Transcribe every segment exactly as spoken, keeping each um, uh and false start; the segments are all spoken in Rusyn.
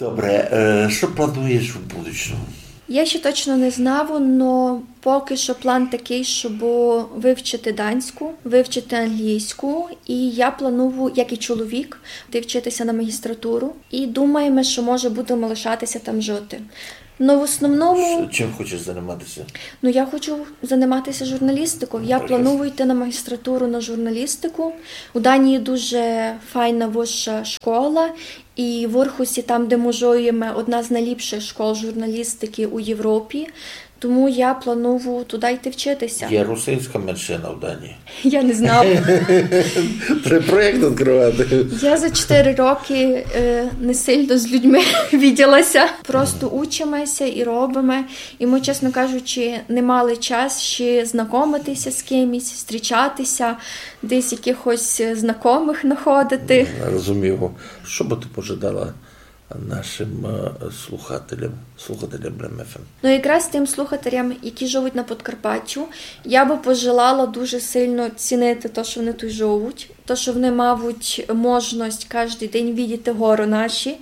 Добре, е, што плануєш у будучому? Я ще точно не знаву, но поки што план такый, щоб вывчити данську, вывчити англійську. І я планую, як і чоловік, йти вчити ся на магістратуру. І думаєме, што, може, будеме лишати ся там жити. Но в основному... Чим хочеш занимати ся? Ну, я хочу занимати ся журналістиков. Я планую йти на магістратуру на журналістику. У Данії дуже файна высша школа. І в Орхусі, там, де мы жиєме, одна з найліпшых школ журналістикы у Європі. Тому я планую туды йти вчити ся. Є русинська меншина в Данії? Я не знаву. Треба проєкт відкрывати. Я за чотири рокы, е, не сильно з людьми виділа ся. Просто учиме ся і робиме. І мы, чесно кажучи, не мали час ще знакомити ся з кимось, зустрічати ся, десь якыхось знакомых находити. Розумію. Што бы ты пожадала нашым, е, слухателям, слухателям Рем ФМ? Ну, якраз тым слухателям, які живуть на Подкарпаттю, я бы пожелала дуже сильно цінити то, што они туй живуть, то, што они мавуть можность каждый день видіти горы наші.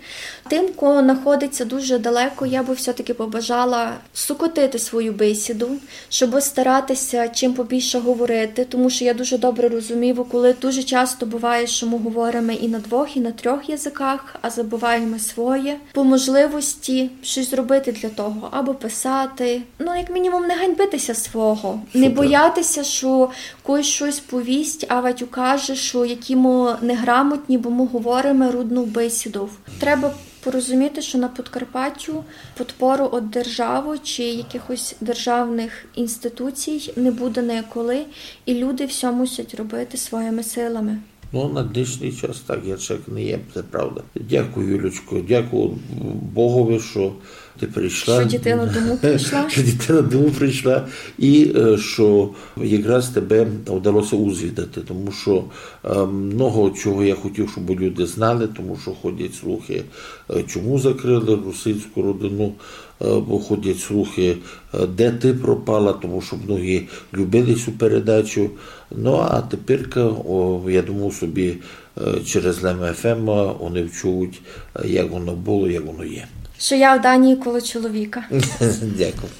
Тым, ко находить ся дуже далеко, я бы всьо-таки побажала сокотити свою бесіду, щоб старати ся чим побільше говорити, тому што я дуже добре розумію, коли дуже часто буває, што мы говориме і на двох, і на трьох языках, а забываєме своє. По можливости штось зробити для того, або писати. Ну, як мінімум, не ганьбити ся свого, не бояти ся, што когось штось повість, авадь укаже, што які мы неграмотні, бо мы говориме рудну бесіду. Треба порозуміти, што на Подкарпаттю подпору од державы чи якыхось державных інституцій не буде николи, і люди всьо мусять робити своїми силами. Ну, на днешній час так, іншак не є, се правда. Дякую, Юлечко, дякую Богови, што ты прийшла. Што дитина дому прийшла. Што дитина дому прийшла, і, е, што якраз тебе вдало ся узвідати, тому што, е, много чого я хотів, щоб люди знали, тому што ходять слухи, е, чому закрыли русинську родину, е, бо ходять слухи, е, де ты пропала, тому што многі любили сю передачу. Ну, а теперка, о, я думав собі, е, через Рем ФМ они вчують, е, як воно было, як воно є. Што я в Данії коло чоловіка. Дякую.